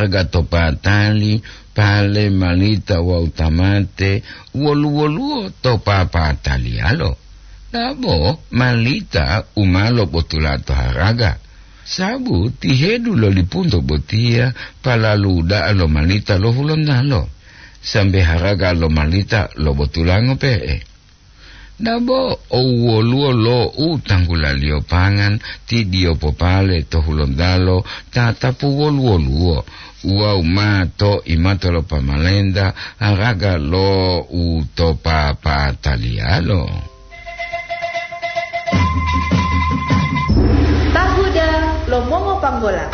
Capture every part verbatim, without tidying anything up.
haraga to patali, pale, malita wawu tamate, wolu-woluwo to papataliyalo. Dabo malita u ma lobotula to haraga. Sabu tihedu lo lipunto botiya palalu da'a lo malita lo Hulontalo, sambe haraga lo malita lobotulango pe'e. Dabo owoluwo lo u tanggulaliyo pangan, ti diyo popale to Hulontalo tatapu wolu-woluwo, wawu ma to imato lo pamalenta haraga lo u to papataliyalo. Tahuda lo mongopanggola.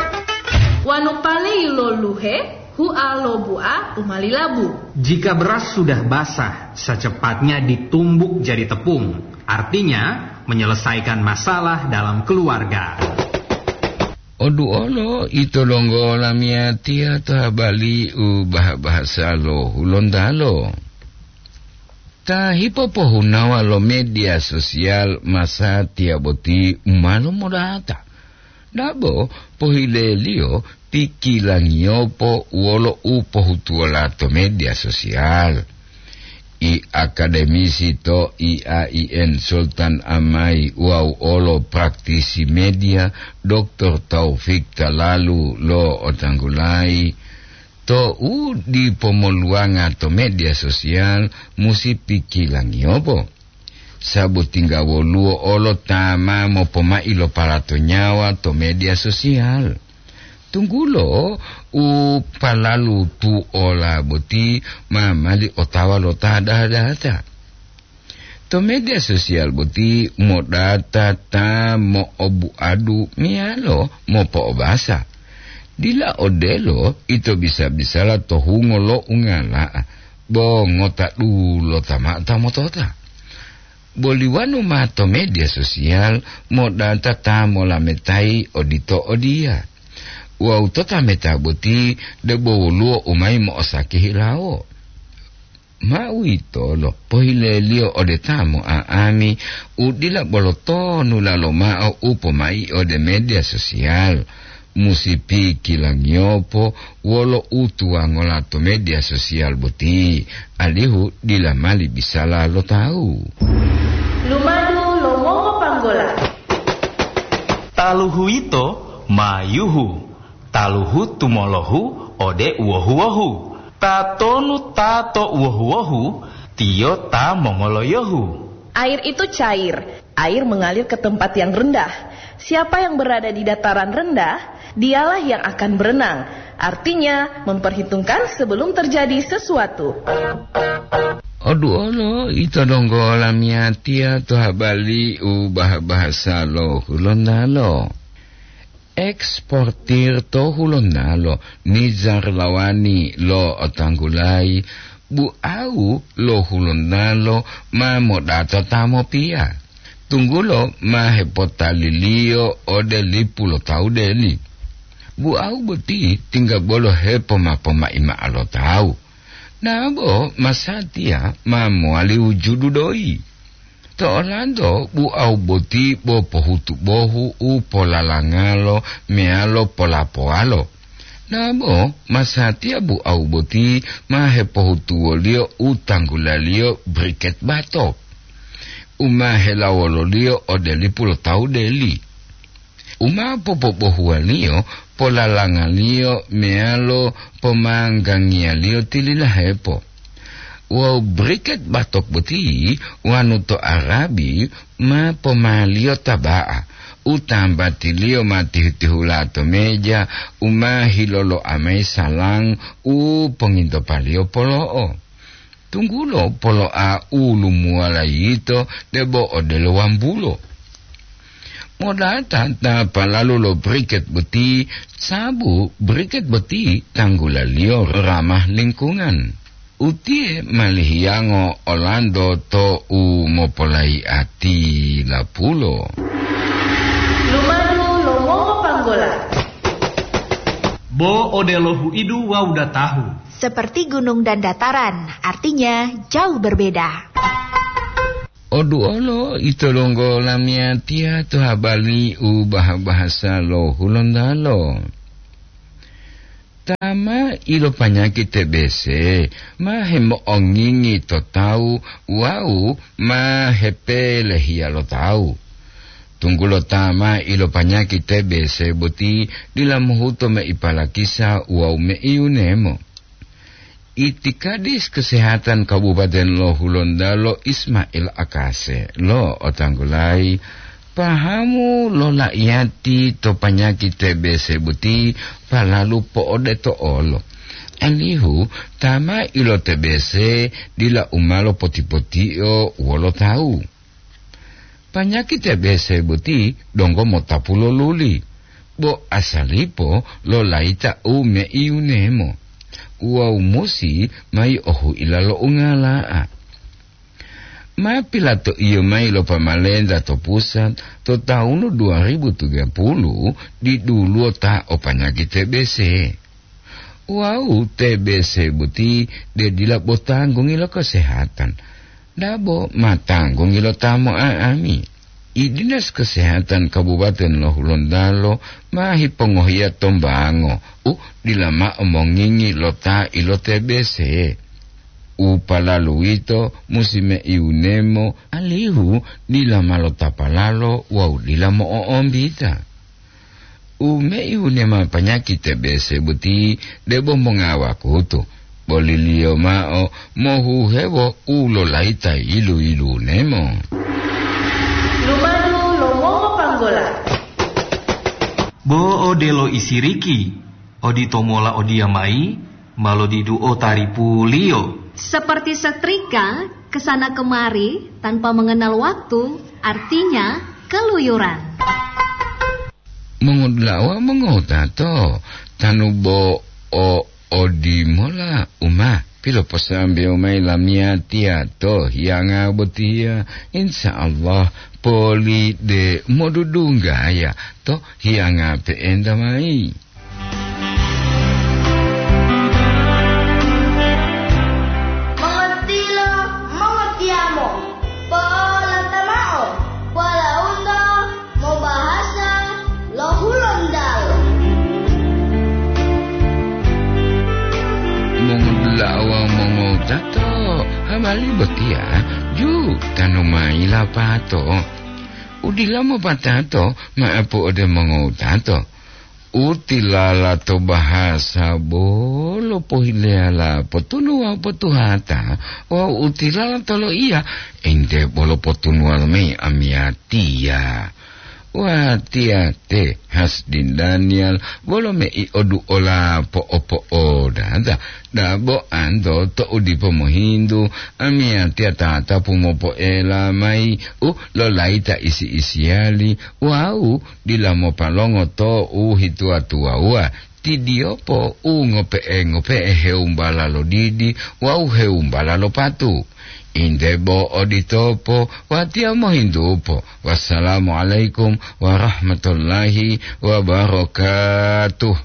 Wanu pale yiloluhe, hua lo bua u ma lilabu. Jika beras sudah basah, secepatnya ditumbuk jadi tepung. Artinya, menyelesaikan masalah dalam keluarga. Oduolo ito donggo lamiyatiya to habali u bah-bahasa lo Hulontalo. Ta hipopohunawa lo media sosial masatiya boti u ma lomodata. Dabo pohileliyo pikilangiyopo wolo u pohutuwola to media sosial. I akademisi to I A I N Sultan Amai wawu olo praktisi media, Doktor Taufik Talalu lo otanggulayi, to u dipo moluwanga to media sosial musi pikilangiyopo. Sabu tingga woluwo olo ta ma mopomai lo palato nyawa to media sosial. Tunggulo u palalu tuola boti ma mali otawa lo ta data-data. To media sosial boti modata ta mo'obuadu meyalo mopo'obasa. Dila odelo ito bisa-bisala to hungo lo ungala'a, bo ngota dulota mao ta motota. Boli wanu ma to media sosial modata ta molametayi odito odiya. Wawu to ta meta boti debo woluwo u mayi mo'osaki hilawo. Ma uwitolo pohileliyo ode ta mo'a'ami u dila bolo tonulalo mao u pomai ode media sosial. Musi pikilangiyopo wolo u tuwangola to media sosial boti, alihu dila mali bisala lo tawu. Lumadu lo mongopanggola. Taluhu yito ma yuhu, taluhu tumolohu ode uwohu-wohu. Tatonu ta to uwohu-wohu, tiyo ta mongoloyohu. Air itu cair. Air mengalir ke tempat yang rendah. Siapa yang berada di dataran rendah, dialah yang akan berenang. Artinya, memperhitungkan sebelum terjadi sesuatu. Oduolo ito donggo lamiyatiya to habali u bah-bahasa lo Hulontalo. Eksportir to Hulontalo Nizar Lawani lo otanggulayi, bu'au lo Hulontalo ma modata ta mopiya, tunggulo ma hepotaliliyo ode lipu lo tawu deli. Bu'au boti tingga bolo hepoma-pomai mao lo tawu. Nabo masatiya ma mowali wujudu doyi. To olanto bu'au boti bo pohutu bohu u polalangalo meyalo polapowalo. Nabo masatiya bu'au boti ma hepohutuwoliyo u tanggulaliyo briket batok, u ma helawololiyo ode lipu lo tawu deli. U ma popobohuwaliyo polalangaliyo meyalo pomanggangiyaliyo tililahepo. Wawu briket batok boti wanu to Arabi ma pomaliyo taba'a, u tambatiliyo ma tihu-tihula to meja, u ma hiloloa mayi salang u pongintopaliyo polo'o. Tunggulo poloa u lumuwala yito debo odelo wambulo. Modata ta palalu lo briket boti, sabu briket boti tanggulaliyo ramah lingkungan. Utiye malihiyango olanto to u mopolayi'ati lapulo. Lumadu lo mongopanggola. Bo odelo huidu wawu datahu. Seperti gunung dan dataran, artinya jauh berbeda. Oduolo ito donggo lamiyatiya to habali u bah-bahasa lo Hulontalo. Ma ilopanyaki T B C ma hemo'ongingi to tawu wawu ma hepelehiya lo tawu. Tunggulo ta ma ilopanyaki T B C boti dila mohuto mei palakisa wawu mei yunemo. Itikadis Kesehatan Kabupaten lo Hulontalo Ismail Akase lo'otanggulayi pahamu lo la'iyati to panyaki T B C boti palalu po'odeto olo, alihu ta ma ilo-T B C dila u ma lopoti-potio wolo tawu. Panyaki T B C boti donggo motapu lo luli, bo asalipo lo layita u mei yunemo wawu musi mayi ohu'ila lo ungala'a. Ma pilatoiyo mayi lo pamalenta to pusat to tawunu dua ribu tiga puluh diduluwo ta o panyaki T B C. Wawu T B C boti de dila bo tanggungi lo kesehatan, dabo ma tanggungi lo ta mo'a'ami. I Dinas Kesehatan Kabupaten lo Hulontalo ma hipongohiya tombango u dila mao mongingi lo ta ilo-T B C. U palalu uwito musi mei wunemo alihu dila ma lotapalalo wawu dila mo'o'ombita. U mei wunema panyaki T B C boti debo mongawakutu, boliliyo mao mohuhewo u lolayita yilu-yilunemo. Lumadu lo mongopanggola. Bo odelo isiriki, oditomola odiyamayi ma lodiduo taripuliyo. Seperti setrika, ke sana kemari tanpa mengenal waktu, artinya keluyuran. Mongodula'a wawu mongotato, tanu bo o odimola u ma piloposambewo mayi lamiyatiya to hiyanga botiya, insya Allah poli de modudunggaya to hiyanga pe'enta mayi. Mongotilo, mongotiyamo, po'olata mao, polaunto mobahasa lo Hulontalo. Mongodula'a wawu mongotato, habari botiya ju tanu mayi lapato. U dila mopatato ma'apu ode mongotato. U tilala to bahasa bolo pohileyala potunu wawu potuhata, wawu u tilala to loiya ente bolo potunuwalo mayi amiyatiya. Watiya te Hasdin Daniel bolo mei oduola po'opo'odata, dabo anto to u dipo mohintu, amiyatiya tatapu mopoela mayi u lolayita isi-isiyali wawu dila mopalongo to u hituwa-tuwawuwa, tidiyopo u ngope'e-ngope'e hewumbala lo didi wawu hewumbala lo patu. Inde bo oditopo, watiya mohintupo. Wassalamualaikum warahmatullahi wabarakatuh.